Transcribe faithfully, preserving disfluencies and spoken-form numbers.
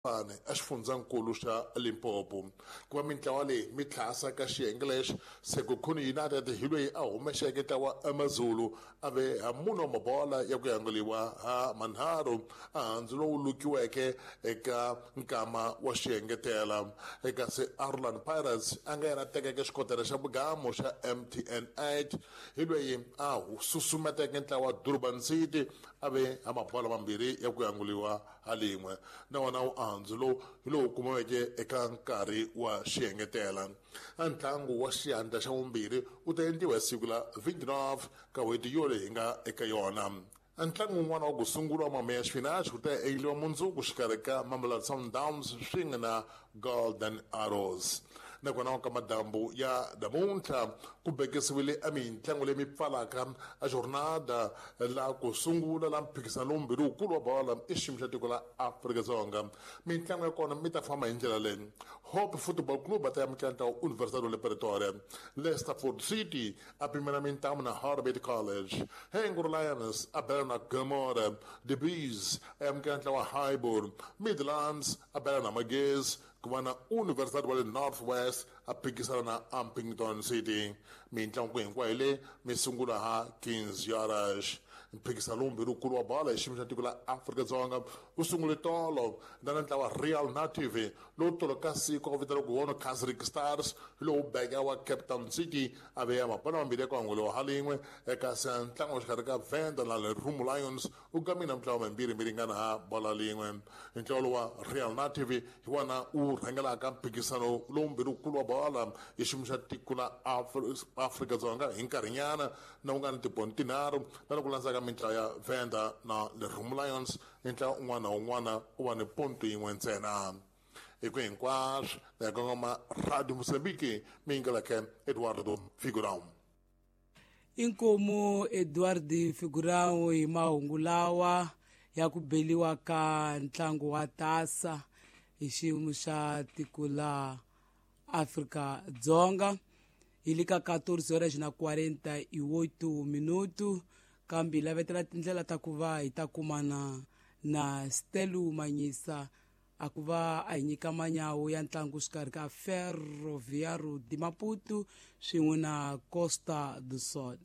Pane exifundzankulu xa Limpopo. Ku va mintlawa leyi mi tlhasa ka xiyenge lexi, Sekhukhune United hi loyi a humexeke ntlawa Amazulu a ve ha mune wa mabola ya ku yanguliwa ha manharhu, a handzu lowu lukiweke eka nkama wa xiengetela. Kasi Orlando Pirates a nga yena tekeke xikotela xa vugamu xa M T N eight, hi loyi a susumeteke ntlawa Durban City a ve ha mabola mambirhi ya ku yanguliwa ha lin'we. Na wona wu andzu lowu hi lowu kumiweke eka nkarhi wa xiengetela. A ntlangu wa xiyandla xa vumbirhi wu ta endliwa hi siku la twenty-nine ka n'hweti yoleyi hi nga eka yona. A ntlangu wun'wana wa ku sungula wa Mameya Xipinachi wu ta endliwa mundzuku xikarhi ka Mamelodi Sundowns swin'we na Golden Arrows. Nakona ka madambu ya namuntlha ku bekisiwile a mintlangu leyi mi pfalaka a jornada la ku sungula la mphikizano lowumbirhi wukulu wa bola i xiyimo xa tiko la Afrika-Dzonga. Mintlangu ya kona mi ta famba hi ndlela leyi: Hope Football Club va ta amukela ntlawa Universidad le Pretoria, Leicesterford City a pimela mintamu na Harbert College, Hengro Lions a bela na Gomora, The Bees a amukela ntlawa Highbury, Midlands a bela na Magezi, ku va na Universidad wa le North West a phikisana na Upington City. Mintlangu hinkwayo leyi mi sungula ha quinze horas. Mphikizano lowumbirhi wukulu wa bola hi xiyimo xa tiko la Afrika-Dzonga wu sungule tolo na na ntlawa Real Native lowu tolo ka siku a ku vitaniwa ku wona Casric Stars, hi lowu beka wa Cape Town City a veya mabolo mambirhi ya ku hanguliwa ha lin'we. Kasi ntlangu wa xikarhi ka Venda na Lerumo Lions wu gamile mintlawa mimbirhi mi ringana ha bola lin'we. Ntlawa lowu wa Real Native hi wona wu rhangelaka mphikizano lowumbirhi wukulu wa bola hi xiyimo xa tiko la Afrika-Dzonga hi nkarhinyana na wu nga ni tipoint tinharhu na loko landzaka mintlawa ya Venda na Lerumo Lions, ntlawa un'wana na un'wana u va ni ponto yin'we ntsena. Hi ku hinkwaswo ya kongoma Radio Mozambique, mi yingeleke Eduardo Figurão. Inkomu Eduardo Figurão hi mahungu lawa ya ku beliwa ka ntlangu wa tasa hi xiyimo xa tiko la Afrika-Dzonga. Hi le ka quatorze horas na quarenta e oito minuto, kambe hi lavetela tindlela ta ku va hi ta kumana na Stelu Manyisa a ku va a hi nyika manyawu ya ntlangu xikarhi ka Ferroviário de Maputo swin'we na Costa do Sol.